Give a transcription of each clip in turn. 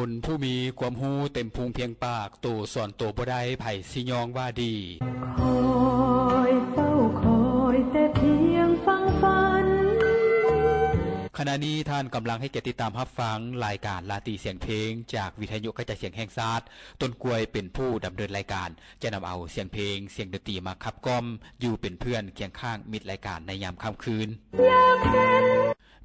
ຄົນຜູ້ມີຄວາມຮູ້ເຕັມພູມພຽງປາກ, ໂຕສອນໂຕບໍ່ໄດ້, ໃຜຊິຍ້ອງວ່າດີ. ຂະນະນີ້ທ່ານກຳລັງໃຫ້ກຽດຕິດຕາມຮັບຟັງລາຍການລາຕີສຽງເພງ ຈາກວິທະຍຸກະຈາຍສຽງແຫ່ງຊາດ. ຕົ້ນກ້ວຍເປັນຜູ້ດຳເນີນລາຍການ, ຈະນຳເອົາສຽງເພງ, ສຽງດົນຕີມາຂັບກ່ອມ, ຢູ່ເປັນເພື່ອນຄຽງຂ້າງມິດລາຍການໃນຍາມຄ່ຳຄືນ.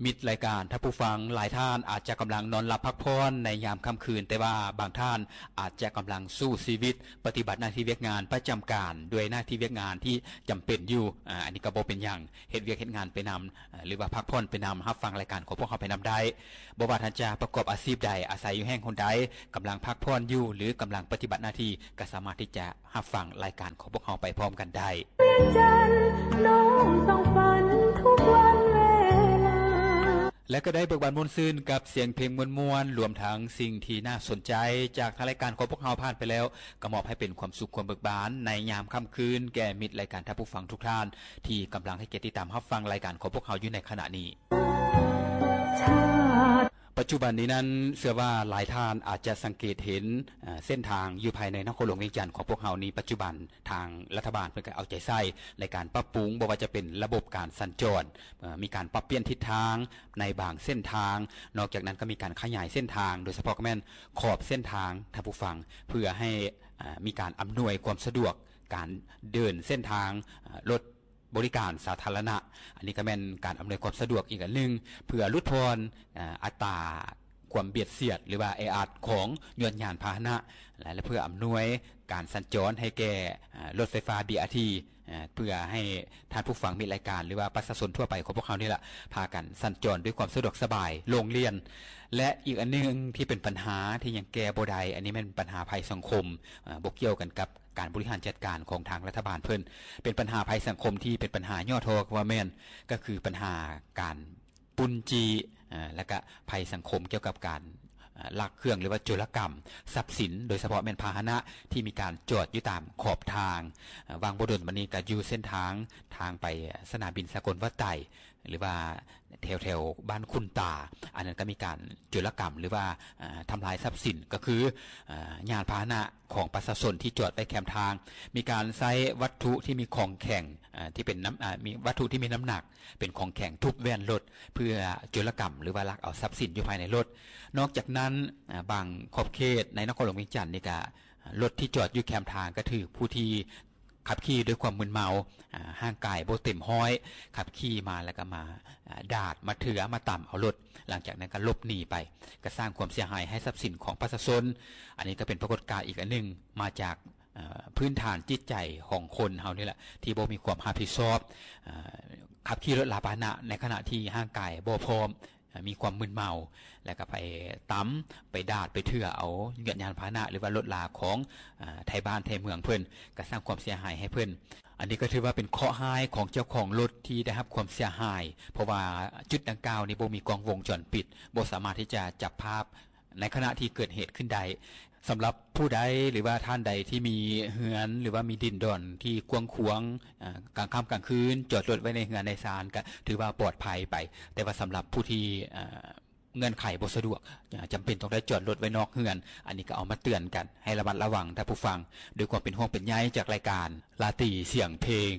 ມິດລາຍການ, ທ່ານຜູ້ຟັງຫຼາຍທ່ານອາດຈະກຳລັງນອນຫຼັບພັກຜ່ອນໃນຍາມຄ່ຳຄືນ, ແຕ່ວ່າບາງທ່ານອາດຈະກຳລັງສູ້ຊີວິດ, ປະຕິບັດໜ້າທີ່ວຽກງານປະຈຳການ ດ້ວຍໜ້າທີ່ວຽກງານທີ່ຈຳເປັນຢູ່. ອາ ອັນນີ້ກໍບໍ່ເປັນຫຍັງ, ເຮັດວຽກເຮັດງານໄປນຳ ອາ ຫຼືວ່າພັກຜ່ອນໄປນຳ, ຮັບຟັງລາຍການຂອງພວກເຮົາໄປນຳໄດ້. ບໍ່ວ່າທ່ານຈະປະກອບອາຊີບໃດ, ອາໄສຢູ່ແຫ່ງຫົນໃດ, ກຳລັງພັກຜ່ອນຢູ່ ຫຼື ກຳລັງປະຕິບັດໜ້າທີ່, ກໍສາມາດທີ່ຈະຮັບຟັງລາຍການຂອງພວກເຮົາໄປພ້ອມກັນໄດ້. ແລະ ກໍໄດ້ເບີກບານມ່ວນຊື່ນກັບສຽງເພງມ່ວນໆ, ລວມທັງສິ່ງທີ່ໜ້າສົນໃຈຈາກທາງລາຍການຂອງພວກເຮົາຜ່ານໄປແລ້ວ, ກໍມອບໃຫ້ເປັນຄວາມສຸກຄວາມເບີກບານໃນຍາມຄ່ຳຄືນ ແກ່ມິດລາຍການ, ທ່ານຜູ້ຟັງທຸກທ່ານ ທີ່ກຳລັງໃຫ້ກຽດຕິດຕາມຮັບຟັງລາຍການຂອງພວກເຮົາຢູ່ໃນຂະນະນີ້. ປັດຈຸບັນນີ້ນັ້ນ ເຊື່ອວ່າຫຼາຍທ່ານອາດຈະສັງເກດເຫັນ ເອີ ເສັ້ນທາງຢູ່ພາຍໃນນະຄອນຫຼວງວຽງຈັນຂອງພວກເຮົານີ້, ປັດຈຸບັນທາງລັດຖະບານເພິ່ນກໍເອົາໃຈໃສ່ໃນການປັບປຸງ, ບໍ່ວ່າຈະເປັນລະບົບການສັນຈອນ, ເອີ ມີການປັບປ່ຽນທິດທາງໃນບາງເສັ້ນທາງ. ນອກຈາກນັ້ນກໍມີການຂະຫຍາຍເສັ້ນທາງ, ໂດຍສະເພາະກໍແມ່ນຂອບເສັ້ນທາງ, ທ່ານຜູ້ຟັງ, ເພື່ອໃຫ້ ອາ ມີການອຳນວຍຄວາມສະດວກການເດີນເສັ້ນທາງ ອາ ລົດ ບໍລິການສາທາລະນະ. ອັນນີ້ກໍແມ່ນການອຳນວຍຄວາມສະດວກອີກອັນໜຶ່ງ ເພື່ອຫຼຸດຜ່ອນ ອາ ອັດຕາຄວາມບຽດສຽດ ຫຼືວ່າແອອັດຂອງຍວນຍານພາຫະນະ ແລະ ເພື່ອອຳນວຍການສັນຈອນໃຫ້ແກ່ ອາ ລົດໄຟຟ້າ ບີອາທີ ອາ ເພື່ອໃຫ້ທ່ານຜູ້ຟັງມິດລາຍການ ຫຼືວ່າປະຊາຊົນທົ່ວໄປຂອງພວກເຮົານີ້ລະ ພາກັນສັນຈອນດ້ວຍຄວາມສະດວກສະບາຍໂລ່ງລ່ຽນ. ແລະ ອີກອັນໜຶ່ງທີ່ເປັນບັນຫາທີ່ຍັງແກ້ບໍ່ໄດ້, ອັນນີ້ແມ່ນບັນຫາໄພສັງຄົມ, ອາ ບໍ່ກ່ຽວກັນກັບ ການບໍລິຫານຈັດການຂອງທາງລັດຖະບານເພິ່ນ ເປັນບັນຫາໄພສັງຄົມທີ່ເປັນບັນຫາຫຍໍ້ທໍ້ກໍວ່າແມ່ນ, ກໍຄືບັນຫາການປຸ້ນຈີ້ ອາ ແລະກະໄພສັງຄົມກ່ຽວກັບການ ອາ ລັກເຄື່ອງ ຫຼືວ່າໂຈລະກຳຊັບສິນ, ໂດຍສະເພາະແມ່ນພາຫະນະທີ່ມີການຈອດຢູ່ຕາມຂອບທາງ. ອາ ຫວ່າງບໍ່ດົນມານີ້ກໍຢູ່ເສັ້ນທາງ ທາງໄປສະໜາມບິນສາກົນວັດໄຕ ຫຼືວ່າແຖວໆບ້ານຂຸນຕາ, ອັນນັ້ນກໍມີການໂຈລະກຳ ຫຼືວ່າ ອາ ທຳລາຍຊັບສິນ, ກໍຄື ອາ ຍານພາຫະນະຂອງປະຊາຊົນທີ່ຈອດໄວ້ແຄມທາງ, ມີການໃຊ້ວັດຖຸທີ່ມີຂອງແຂງ ອາ ທີ່ເປັນນ້ຳ ອາ ມີວັດຖຸທີ່ມີນ້ຳໜັກເປັນຂອງແຂງທຸບແວ່ນລົດ ເພື່ອໂຈລະກຳ ຫຼືວ່າລັກເອົາຊັບສິນຢູ່ພາຍໃນລົດ. ນອກຈາກນັ້ນ ອາ ບາງຂອບເຂດໃນນະຄອນຫຼວງວຽງຈັນນີ້ກະ ລົດທີ່ຈອດຢູ່ແຄມທາງກໍຖືກຜູ້ທີ່ ຂັບຂີ່ດ້ວຍຄວາມມຶນເມົາ, ອາ ຮ່າງກາຍບໍ່ເຕັມຮ້ອຍ, ຂັບຂີ່ມາແລ້ວກໍມາ ອາ ດາດ, ມາເຖື່ອ, ມາຕຳເອົາລົດ, ຫຼັງຈາກນັ້ນກໍຫຼົບໜີໄປ, ກໍສ້າງຄວາມເສຍຫາຍໃຫ້ຊັບສິນຂອງປະຊາຊົນ. ອັນນີ້ກໍເປັນປາກົດການອີກອັນໜຶ່ງ ມາຈາກ ອາ ພື້ນຖານຈິດໃຈຂອງຄົນເຮົານີ້ແຫຼະ ທີ່ບໍ່ມີຄວາມຮັບຜິດຊອບ, ອາ ຂັບຂີ່ລົດລາພາຫະນະໃນຂະນະທີ່ຮ່າງກາຍບໍ່ພ້ອມ, ອາ ມີຄວາມມຶນເມົາ ແລ້ວກໍໄປຕຳ ໄປດາດ ໄປເຖື່ອເອົາຍານພາຫະນະ ຫຼືວ່າລົດລາຂອງ ອາ ໄທບ້ານໄທເມືອງເພິ່ນ, ກໍສ້າງຄວາມເສຍຫາຍໃຫ້ເພິ່ນ. ອັນນີ້ກໍຖືວ່າເປັນເຄາະຮ້າຍຂອງເຈົ້າຂອງລົດທີ່ໄດ້ຮັບຄວາມເສຍຫາຍ, ເພາະວ່າຈຸດດັ່ງກ່າວນີ້ບໍ່ມີກ້ອງວົງຈອນປິດ, ບໍ່ສາມາດທີ່ຈະຈັບພາບໃນຂະນະທີ່ເກີດເຫດຂຶ້ນໄດ້. ສຳລັບຜູ້ໃດ ຫຼືວ່າທ່ານໃດທີ່ມີເຮືອນ ຫຼືວ່າມີດິນດອນທີ່ກວ້າງຂວາງ, ອາ ກາງຄ່ຳກາງຄືນຈອດລົດໄວ້ໃນເຮືອນໃນຊານ ກໍຖືວ່າປອດໄພໄປ, ແຕ່ວ່າສຳລັບຜູ້ທີ່ ອາ ເງື່ອນໄຂບໍ່ສະດວກ, ຈຳເປັນຕ້ອງໄດ້ຈອດລົດໄວ້ນອກເຮືອນ, ອັນນີ້ກໍເອົາມາເຕືອນກັນໃຫ້ລະມັດລະວັງທ່ານຜູ້ຟັງ, ດ້ວຍຄວາມເປັນຫ່ວງເປັນໃຍຈາກລາຍການລາຕີສຽງເພງ.